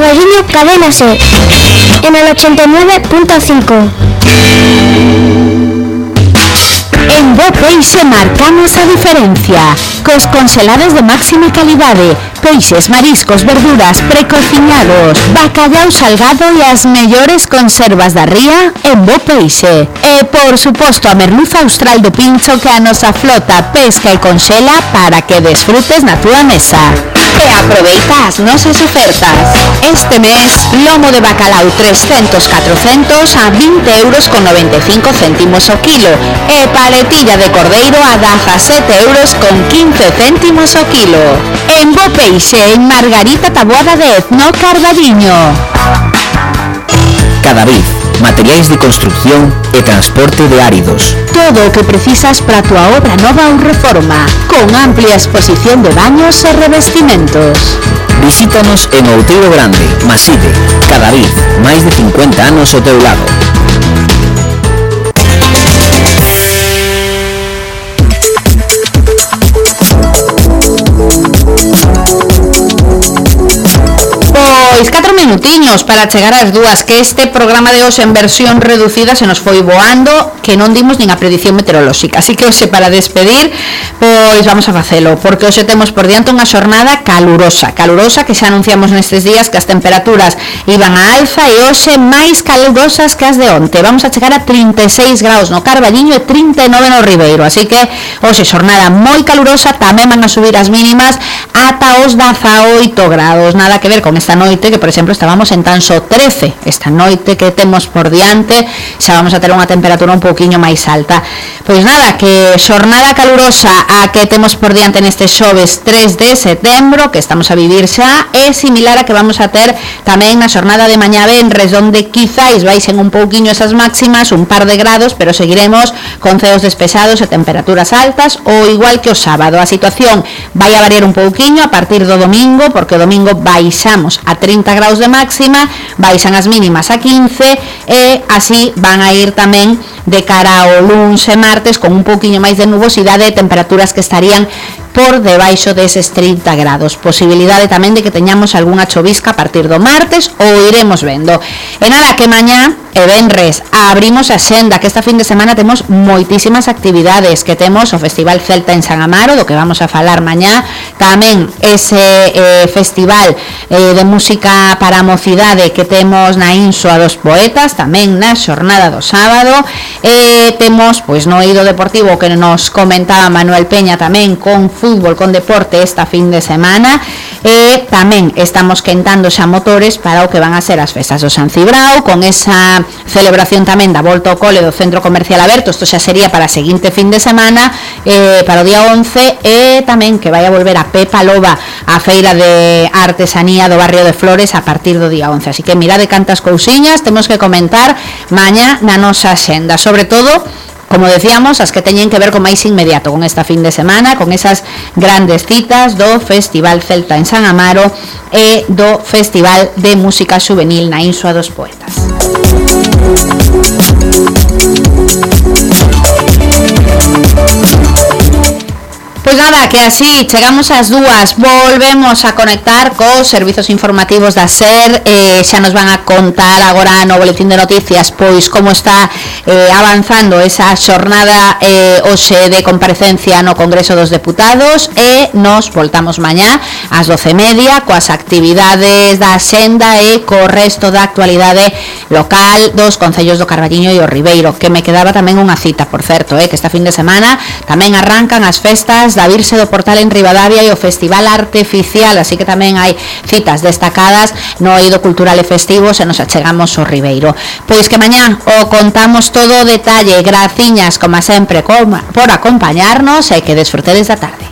Carballiño Cadena Ser, en el 89.5. En Bo Peixe marcamos a diferencia, cos congelados de máxima calidade, peixes, mariscos, verduras, precociñados, bacallau salgado e as mellores conservas da ría en Bo Peixe. E, por suposto, a merluza austral do Pincho que a nosa flota pesca e conxela para que desfrutes na túa mesa. E aproveita as nosas ofertas. Este mes, lomo de bacalao 300-400 a 20,95 € o kilo e paletilla de cordeiro a 17,15 € o kilo. En Bo Peixe, en Margarita Taboada 10, no Carballiño. Cadavid, materiais de construcción e transporte de áridos. Todo o que precisas para a tua obra nova ou reforma, con amplia exposición de baños e revestimentos. Visítanos en Outeiro Grande, Maside. Cadavid, máis de 50 anos ao teu lado. Pois 4 minutiños para chegar ás 2, que este programa de hoxe en versión reducida se nos foi voando, que non dimos nin a predición meteorolóxica, así que hoxe para despedir, pois vamos a facelo, porque hoxe temos por diante unha xornada calurosa que xa anunciamos nestes días que as temperaturas iban a alza e hoxe máis calurosas que as de onte. Vamos a chegar a 36 graus no Carballiño e 39 no Ribeiro, así que hoxe xornada moi calurosa, tamén van a subir as mínimas ata os 18 graus, nada que ver con esta noite, que por exemplo estábamos en tan só 13, esta noite que temos por diante xa vamos a ter unha temperatura un pouquiño máis alta. Pois nada, que xornada calurosa a que temos por diante neste xoves 3 de setembro, que estamos a vivir xa, é similar a que vamos a ter tamén na xornada de mañá venres, onde quizáis baixen un pouquiño esas máximas, un par de grados, pero seguiremos con ceos despejados e temperaturas altas, ou igual que o sábado. A situación vai a variar un pouquiño a partir do domingo, porque o domingo baixamos a 30 graus de máxima, baixan as mínimas a 15 e así van a ir tamén de cara ao luns e martes con un pouquiño máis de nubosidade e temperaturas que estarían por debaixo deses 30 grados. Posibilidade tamén de que teñamos algunha chovisca a partir do martes, ou iremos vendo. E nada, que mañá e venres abrimos a xenda, que esta fin de semana temos moitísimas actividades, que temos o Festival Celta en San Amaro, do que vamos a falar mañá, tamén ese festival de música para a mocidade que temos na Insoa dos Poetas, tamén na xornada do sábado, temos pois no eido deportivo que nos comentaba Manuel Peña tamén con fútbol, con deporte esta fin de semana, e tamén estamos quentando xa motores para o que van a ser as festas do San Cibrao, con esa celebración tamén da volta ao cole do Centro Comercial Aberto. Isto xa sería para a seguinte fin de semana, para o día 11, e tamén que vai a volver a Pepa Loba a feira de artesanía do barrio de Flores a partir do día 11, así que mirade cantas cousiñas temos que comentar mañá na nosa xenda, sobre todo, como decíamos, as que teñen que ver con máis inmediato con esta fin de semana, con esas grandes citas do Festival Celta en San Amaro e do Festival de Música Juvenil na Insoa dos Poetas. Pois nada, que así chegamos ás 2, volvemos a conectar cos servizos informativos da SER, xa nos van a contar agora no boletín de noticias pois como está avanzando esa xornada hoxe de comparecencia no Congreso dos Deputados, e nos voltamos mañá ás 12:30 coas actividades da xenda e co resto da actualidade local dos concellos do Carballiño e o Ribeiro, que me quedaba tamén unha cita, por certo, que esta fin de semana tamén arrancan as festas da Virxe do Portal en Ribadavia e o Festival Arteficial, así que tamén hai citas destacadas no eido cultural e festivo se nos achegamos ao Ribeiro. Pois que mañá o contamos todo o detalle. Graciñas, como sempre, por acompañarnos e que desfrutedes da tarde.